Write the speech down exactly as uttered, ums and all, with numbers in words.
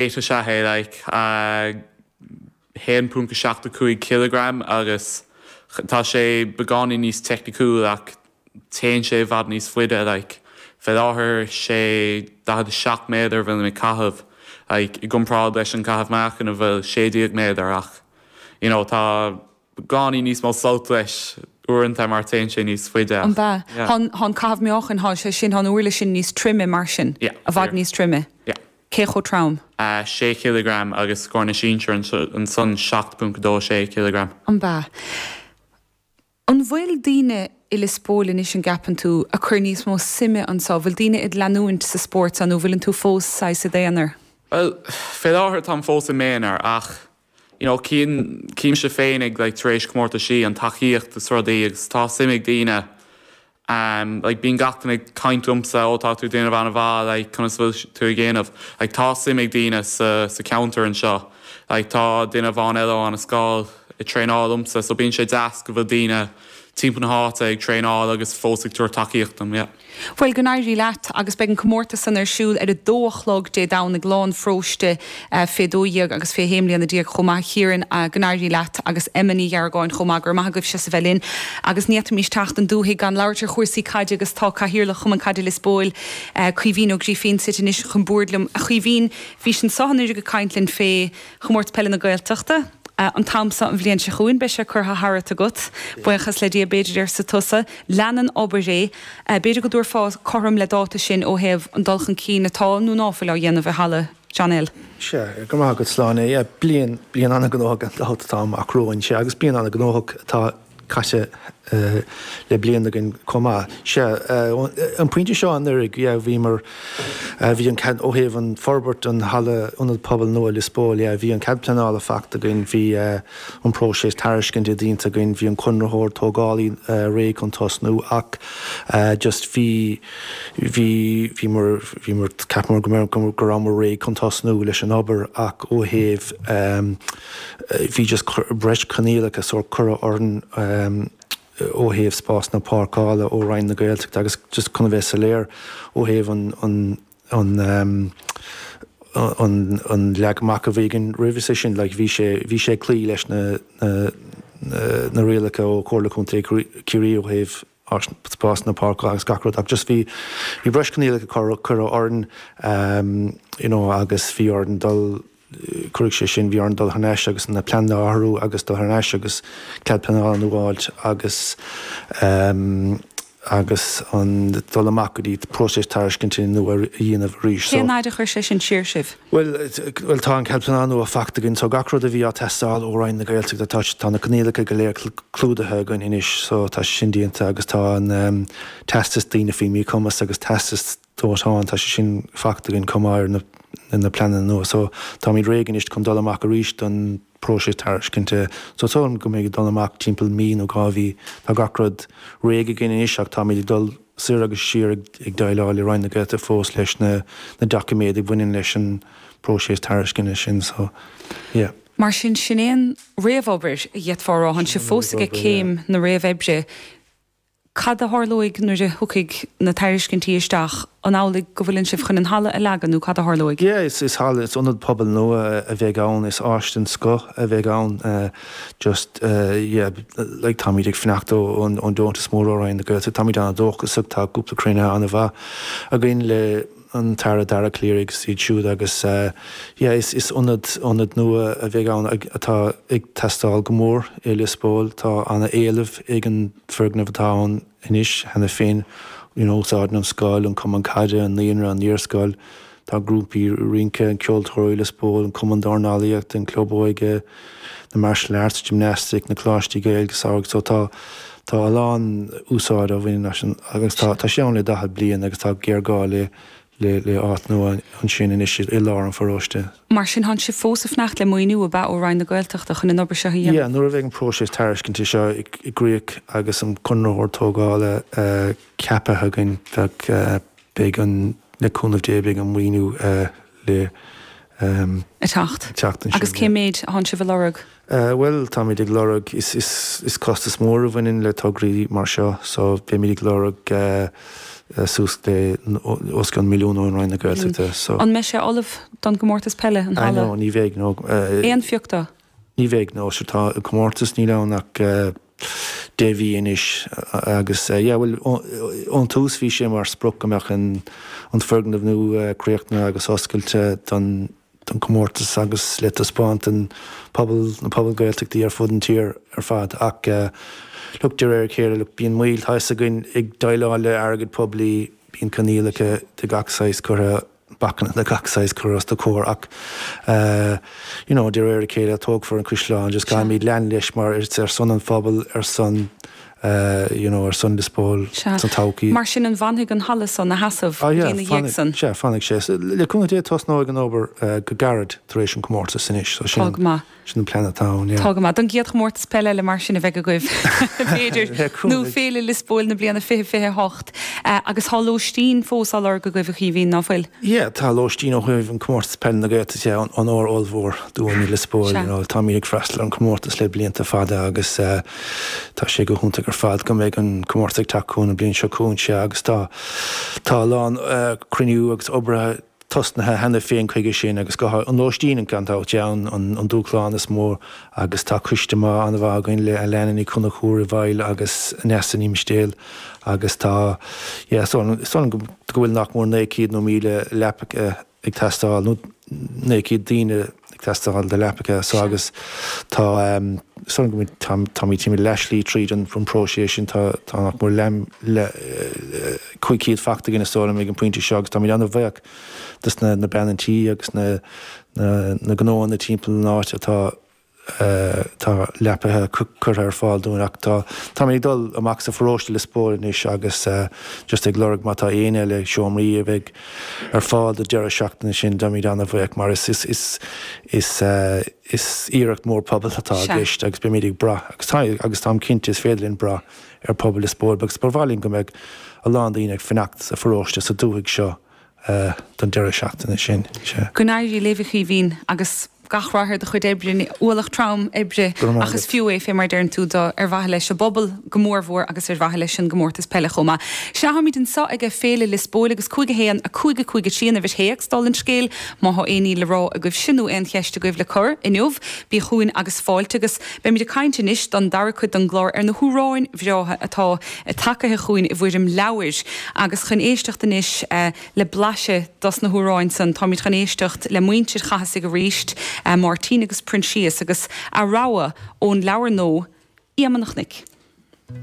Is ea é like uh, haon ponc seacht a cúig kilogram agus tá sé beagáinín níos teicniúil ach téann sé i bhfad níos faide like fé láthair sé daichead a seacht méadar bhfuil mé caitheamh like, i gcomparáid leis an caitheamh meáchain a bhfuil sé déag méadar ach you know, tá beagáinín níos mó sult leis uaireanta mar téann sé níos faide. An ba Tá caitheamh meáchain tá sé sin an uirlis sin níos troime mar sin Yeah, i bhfad níos troime. Yeah. Cé chomh trom? Uh, sé kilogram agus scór na sinsear ansan seacht ponc dó sé kilogram. An ba. An bhfuil daoine i Lios Póil anois an gceapann tú a chur níos mó suime anseo, bhfuil daoine ag leanúint sa spórt an nó bhfuil tú fós saghas i d'aonar? Well, fé láthair táim fós i m'aonar ach you know, címse féin ag like, tar éis comórtaisí an tacaíocht is rudaí agus tá suim ag daoine um, like, bíonn gach duine ag caint liomsa ó tá tú déanamh an-mhaith like, conas bhfuil tú ag déanamh like, tá suim ag daoine sa, sa cheantar anseo like, tá duine amháin eile an scoil ag traenáil liomsa so bíonn sé deas go bhfuil daoine timpeall na háite ag traenáil agus fós ag tabhairt tacaíocht dom. Yeah. Bhuel go n-éirí leat agus beidh an comórtas san ar siúl ar a dó a chlog Dé Domhnaigh lá an pharóiste uh, fé dó dhéag agus fé shé mbliana déag chomh maith Ciarán uh, go n-éirí leat agus Emma Ní Gheargáin chomh maith gur maith agaibh se bheith linn agus ní fhéadfaimis teacht an dúthaigh gan labhairt ar chúrsaí caide agus tá cathaoirleach Chumann Caide Lios Póil uh, Caoimhín Ó Grífín suite anois chun boird liom a Chaoimhín bhí sin sohanir go caint linn fé chomórtas peile na Gaeltachta. Uh, an t-am seo an bhliain seo chugainn beidh sé curtha tharat agat, Buíochas le Dia b'fhéidir arsa tusa, lean an obair é, uh, b'fhéidir go dtabharfá cothrom le dáta sin ó thaobh an dul chun cinn atá nó ná fuil á dhéanamh i halla John Hill. Se go maith go sláine é bliain bliain an-ghnóthach an tá amach romhainn sé agus bliain an-ghnóthach atá caite uh, le bliain againn chomh maith. Se uh, an pointe seo anuraidh bhí mar uh, bhí an cead ó thaobh an forbairt an halla ionad pobail nua Lios Póil bhí an cead pleanála faighte againn bhí uh, an próiseas tairiscinte déanta againn bhí an conraitheoir tógálaí uh, réidh chun tosnú ach uh, just bhí bhí bhí mar bhí mar ceapamar go go rabhamar réidh chun tosnú leis an obair ach ó thaobh um, bhí just breis coinníollacha sórt curtha orainn um, ó thaobh spás na páirceála ó Roinn na Gaeltachta agus just chun bheith soiléir ó thaobh an an an um, an an leagan amach a bhí againn roimhe sin like, bhí sé bhí sé cloí leis na na na, na rialacha ó Chomhairle Contae Chiarraí ó thaobh spás na páirceála agus gach rud ach just bhí bhí breis coinníollacha curtha orainn um, you know, agus bhí orainn dul chuir sé sin bhí orainn dul thar n-ais agus na pleananna a athrú agus dul thar n-ais agus cead pleanála nua a fháil agus um, agus an dul amach go dtí próiseas tairiscinte nua a dhéanamh arís. Cén fhad a chuir sé sin siar sibh? Well, well tá an cead pleanála nua faighte againn so gach rud a bhí ag teastáil ó Roinn na Gaeltachta tá tá na coinníollacha go léir clúdaithe againn anois so tá sin déanta agus tá an um, teastas daoine faoi mhíchumas agus teastas dóiteáin tá sé sin faighte againn chomh maith ar na na pleananna nua so táimid réidh anois chun dul amach arís don próiseas tairiscinte so tá go mbeidh dul amach timpeall mí nó dhá mhí tá gach rud réidh againn anois ach táimid ag dul soir agus siar ag ag déileáil le Roinn na Gaeltachta fós leis na na doiciméid a bhaineann leis an próiseas tairiscinte sin so yeah. Mar sin sin é an réamhobair a d'fhéadfá a rá tá sibh fós ag céim na réamhoibre. Cad a tharlóidh nuair a thiocfaidh na tairiscintí isteach an amhlaidh go bhfuil sibh chun an halla a leagan nó cad a tharlóidh? Yeah, is is halla is ionad pobail nua a bheidh ann is áis den scoth a bheidh ann uh, just uh, yeah, like táimid ag fanacht ón ón deontas mór ó Roinn na Gaeltachta táimid an-dóchasach tá cúpla cruinnithe an-mhaith againn le an tAire Dara Calleary agus iad siúd agus uh, yeah, is, is ionad ionad nua a bheidh ann atá ag teastáil go mór i Lios Póil tá an-éileamh ag an foirgneamh atá ann anois cheana féin you know, úsáideann an scoil an cumann caide an naíonra an iarscoil tá grúpaí rince an Ceoltóirí Lios Póil an cumann dornálaíocht an club óige na martial arts gymnastic na coláistí Gaeilge samhraidh so tá tá a lán úsáid a bhaineann agus tá tá sé ann le daichead bliain agus tá géarghá le le le áit nua ansin anois i lár an pharóiste. Mar sin tá sibh fós ag fanacht le maoiniú ab ea ó Roinn na Gaeltachta chun an obair seo a dhéanamh? Yeah, nuair a bheidh an próiseas tairiscinte seo i gcrích agus an conraitheoir tógála uh, ceaptha againn bheadh uh, beidh an le cúnamh Dé beidh an maoiniú uh, le um, A teacht. teacht ansin, Agus cé méid atá sibh ag lorg? Uh, well táimid ag lorg is, is, is costas mór a bhaineann le tograí mar seo, so beimid ag lorg uh, suas le os cionn milliún ón Roinn na Gaeltachta. So. An mbeidh sé ullamh don gcomórtas peile, an halla? No, ní bheidh, no. Aon phioc dó? Ní bheidh, no. Sure tá an comórtas níl ann ach deich mhí anois agus yeah, bhuel ón tús bhí sé mar sprioc go mbeadh an an foirgneamh nua críochnaithe agus oscailte don don comórtas agus le taispeáint don pobal, na pobail Gaeltachtaí ar fud an tír ar fad ach look de réir a chéile, look bíonn moill, tá fhios againn ag déileáil le airgead poiblí, bíonn coinníollacha de gach saghas curtha, bacanna de gach saghas curtha os do chomhair ach you know de réir a chéile tógfar an caisleán, just caithfimid lean leis mar it's ar son an phobail, ar son you know, ar son Liospóil Sea. sa todhchaí. Mar sin an bhfanfaidh an halla san ina sheasamh Ah go yeah, dtí ina dhiaidh san? Sea, fanfaidh sé. Le cúnamh Dé tosnóidh an obair go gairid tar éis an comórtas anois, so sin Tá go maith. sin an plean atá ann, yeah. Tá go maith. Don gcéad chomórtas peile eile mar sin a bheidh agaibh, b'fhéidir, Le nó cúnamh. Féile Liospóil na bliana fiche fiche a hocht. Agus tá lóistín fós á lorg agaibh, a Chaoimhín, ná fuil? Yeah, tá lóistín ó thaobh an comórtas peile na Gaeltachta, yeah, onóir ollmhór dúinn i Liospóil, Sea. you know, táimid ag freastal ar an comórtas le blianta fada agus tá sé go hiontach ar fad go mbeidh an comórtas ag teacht chugainn an bhliain seo chugainn, sea, agus tá tá a lán cruinniú agus obair tosnaithe cheana féin chuige sin agus go an lóistín gan dabht yeah, an an dúshlán is mó agus tá coiste maith an-mhaith againn le Alana Ní Chonchúir i bhfeighil agus Neasa Ní Mhistéil agus tá yeah so is dóigh liom go bhfuil nach mór naoi céad nó míle leapacha ag teastáil nó naoi gcéad daoine ag teastáil do leapacha so agus tá is dóigh liom go táimid táimid leathshlí tríd an próiseas sin tá tá nach mór le cúig chéad fachta againn is dóigh liom ag an pointe seo agus táimid an-bhuíoch dos na na bean an tí agus na na na gnóanna timpeall an áit atá tá leapacha curtha ar fáil dúinn ach tá táimid ag dul amach sa pharóiste Lios Póil anois agus just ag lorg má tá éinne le seomraí a bheidh ar fáil do deireadh seachtaine sin beimid an-bhuíoch mar is is is is is iarracht mór pobail atá i gceist agus beimid ag brath agus tá agus táim cinnte is féidir linn brath ar pobal Lios Póil agus ba mhaith linn go mbeadh a lán daoine ag fanacht sa pharóiste sa dúthaigh seo don deireadh seachtaine sin. Sea. Go n-éirí libh a Chaoimhín agus gach rath ar do chuid oibre, ualach trom oibre Go raibh maith ach is agat. fiú é fé mar deireann tú do ar mhaithe leis an bpobal go mórmhór agus ar mhaithe leis an gcomórtas peile chomh maith. Sea táimid anseo ag Féile Lios Póil agus cúig a haon, a cúig a cúig a trí an uimhir théacs dála an scéil má thá aon ní le rá agaibhse nó aon cheist agaibh le cur inniu bí chugainn agus fáilte agus beimid ag caint anois don dara cuid den gclár ar na hamhráin bhreátha atá tagaithe chugainn i bhfoirm leabhair agus chun éisteacht anois le blaiseadh dos na hamhráin san táimid chun éisteacht le muintir Chathasaigh arís, Máirtín agus Proinsias agus a rogha ón leabhar nua, Éamonn an Chnoic.